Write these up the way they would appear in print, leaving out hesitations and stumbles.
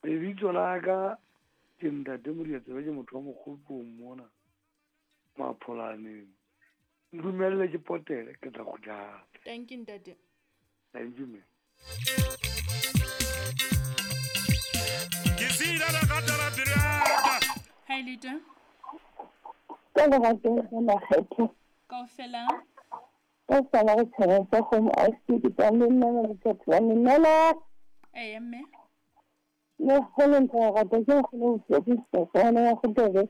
Lebitso la ka ke Ntate Modiatsebe, ke motho wa Mokgopong mona Mapholaneng. Ntumelle ke potele, ke tla kgutla hape. Thank you, ntate. Thank you, ma'am. Ke sila lerato la pelo ya ka. Hi, Lita. Ka lerato la makgetho. Kaofela. Ka sala go tshaba sa kgomo a se ke tsa le nna le batho ba nnela. Eya mme. Le kgone ntho ya rata ke kgone go fetisa tsana ya go tebe.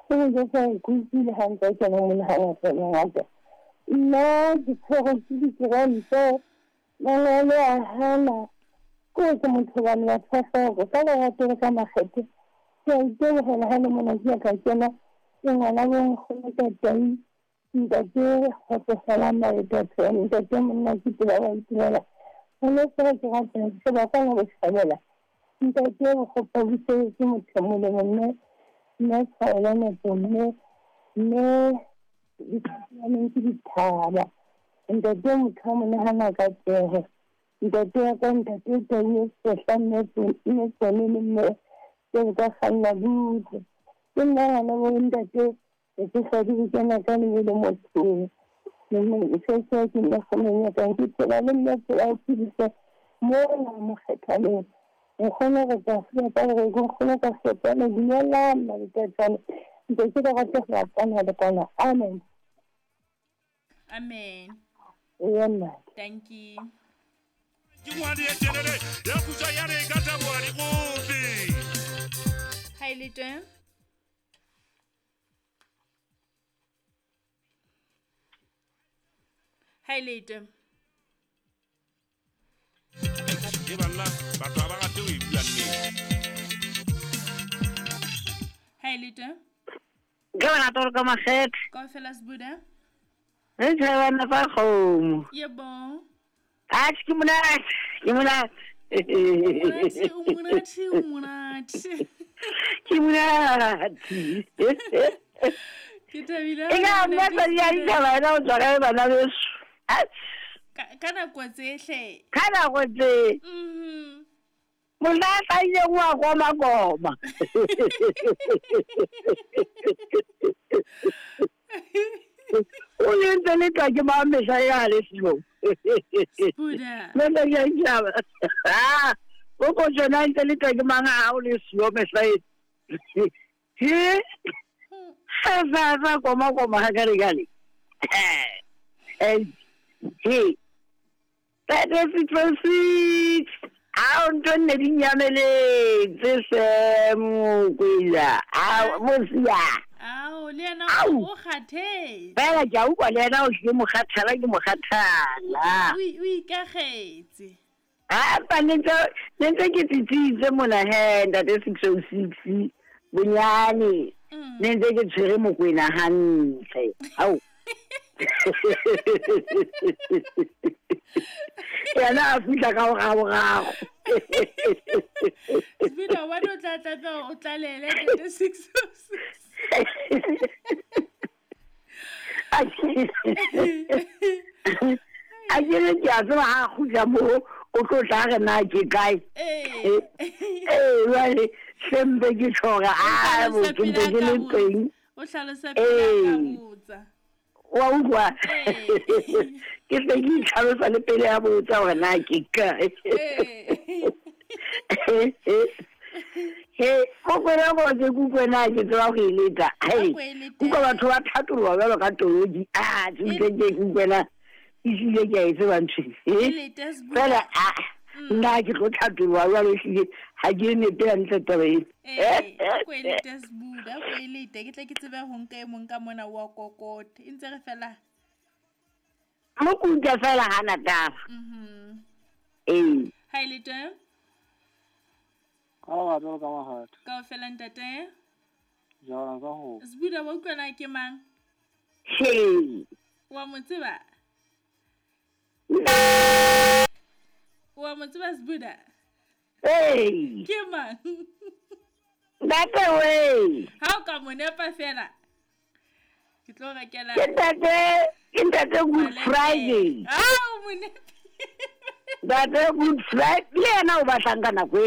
Go ke sa kutsile ha ntse ke mo monagano go ngata. Nna ke tshwere ke dikuranta mangwele a hana ko ke motho bane batho ba hloko ka lerato le ka makgethe ke a itebogela ha le mona ke ya ka kena ke ngwana bo nkgono ka teng Ntate kgotsofala Maetaphe, ntate monna ke tseba ba itumela. Ngwaneso ga ke rata ke ba kwana bochabela. Ntate Bokgopa Buseletse Mothemole mme mme Tshwaelo Nepo mme mme diphapaneng ke dithaba. Ntate motho wa monahana ka tsoho. Ntate wa ka ntate Tau e sehla mme mme tsone le mme tseo ka kganna butle. Ke nna ngwana bo ntate Ke tsoga ke kena ka lebelo mothong. Sese ke nna kgonong ya ka ke phela le nna phela o phedisa mola mokgethaleng. Nkgono re tla fela ka gore ke nkgono ka fetana dumelang maletatsane ntse ke ka rata go apana le kwana. Amen. Amen. Eya nna. Thank you. Ke ngwadi e telele ya kutsa ya re ka taboa dikope. Hi, Lito. Hi, Lito. Ke banna batho ha ba rate ho e bua nnete. Hi, Lito. Ke bona toro ka makgethe. Kaofela Sbuda. Re tshebana fa kgomo. Yebo. Atjhe ke monate, ke monate. Monate, o monate, o monate. Ke monate. Ke thabile. E ka nna tsadi ya ditjhaba ena o tswa kae bana beso? Atjhe. Ka nako tsehle. Ka nako tse. Monna a hlahileng wa koma koma. O le ntse le tla ke mang mehla ya le selo. Mehla ya ditjhaba. Ah, o ko tsena ntse le tla ke mang ha o le selo mehla e. He? Sa sa koma koma ha kare kale. Eh. He. 36. Ao ntho nne di nyameletse se mokwela. Ao mosia. Ao le yena o kgathetse. Fela ke a utlwa le yena o ke mokgathala ke mokgathala. O ikagetse. Ah pa ne ntse ke tsitsitse mona he ntate 606 bonyane. Ne ntse ke tshwere mokwena hantle. Ao. Yena a fihla ka boragorago. Spina wa o tla tla o tlalele ntate 606. A ke re ke a tseba ha a kgutla mo o tlo tla re na ke kae. Ee jwale sempe ke tjho hore a bo ke ntse ke le teng. O hlalosa pele a ka botsa. Wa utlwa? Ke se ke itlhalosa le pele a botsa hore na ke kae. He, kokwena go ke kukwena ke tseba go e leta. Hei, kuka batho ba thatoloha jwalo ka toloki. Ah, ke ke kukwena ehlile ke a e tseba ntho e. Fela a nna ke tlo thatoloha jwalo ehlile ha ke nepe hantle taba ena. Ee, ko e lete Sbuda, ko e lete ke tle ke tsebe ho nka e mong ka mona wa kokote. E ntse re fela. Mo kuka fela hana taba. Ee. Ha e lete. Ka ba jwalo ka mahatha. Kaofela ntate. Jwalo ka ho. Sbuda wa utlwa na ke mang? He. Wa mo tseba? Wa mo tseba Sbuda? Ee. Ke mang? Ntate we. Ha o ka mo nepa fela. Ke tlo rekela. Ke ntate Good Friday. Ah, o mo nepa. Ntate Good Friday le yena o batlang ka nako ena.